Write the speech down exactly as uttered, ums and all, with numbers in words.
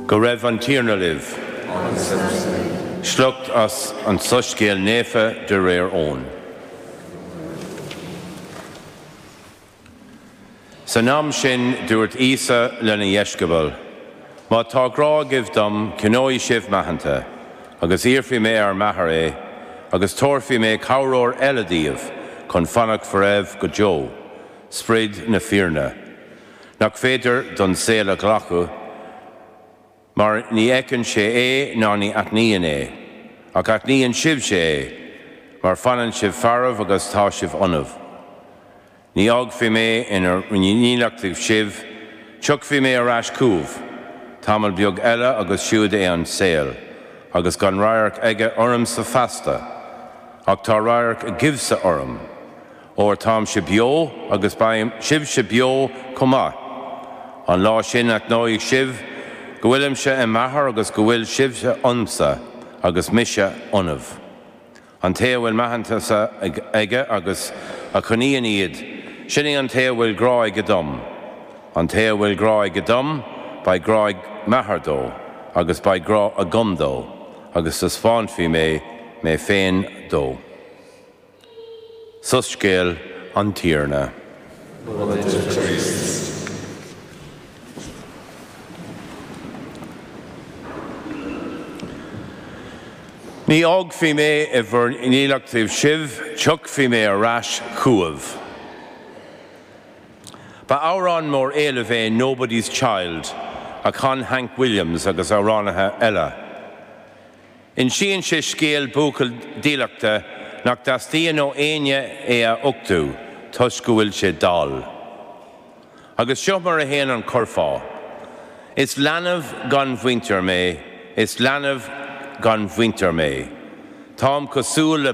Go raibh an Tiarna libh. Sliocht as an Soiscéal Naofa de réir Eoin. San am sin dúirt Íosa lena dheisceabail, Má tá grá agaibh dom, coinneoidh sibh m'aitheanta, agus iarrfaidh mé ar m'Athair é, agus tabharfaidh mé cabhróir eile daoibh chun fanacht bhur dtaobh go deo, Sprid na fírinne, nach féidir don saol a ghlacadh, mar ní fheiceann sé é ná ní aithníonn é, ach aithníonn sibhse é, mar fanann sé faraibh agus tá sé ionaibh. Ní fhágfaidh mé in bhur ndílleachtaibh sibh, tiocfaidh mé ar ais chugaibh, tamall beag eile agus siúd é an saol, agus gan radharc aige ormsa feasta, ach tá radharc agaibhse orm, óir táimse beo agus beidh sibhse beo chomh maith. An lá sin aithneoidh sibh go bhfuilimse i m'Athair agus go bhfuil sibhse ionamsa agus mise ionaibh. An té a bhfuil m'aitheantasa aige agus a choinníonn iad, sin é an té a bhfuil grá aige dom. An té a bhfuil grá aige dom, beidh grá ag m'Athair dó, agus beidh grá agam dó, agus taispeánfaidh mé mé féin dó. Soiscéal an Tiarna. Ní fhágfaidh mé i bhur ndílleachtaibh sibh, tiocfaidh mé ar ais chugaibh. Ba amhrán mór éilimh é Nobody's Child a chan Hank Williams agus amhránaithe eile. Insíonn sé scéal buachaill dílleachta nach dteastaíonn ó éinne é a uchtú toisc go bhfuil sé dall. Agus seo mar a théann an curfá. Is leanbh gan mhuintir mé, is leanbh gan mhuintir mé. Táim cosúil le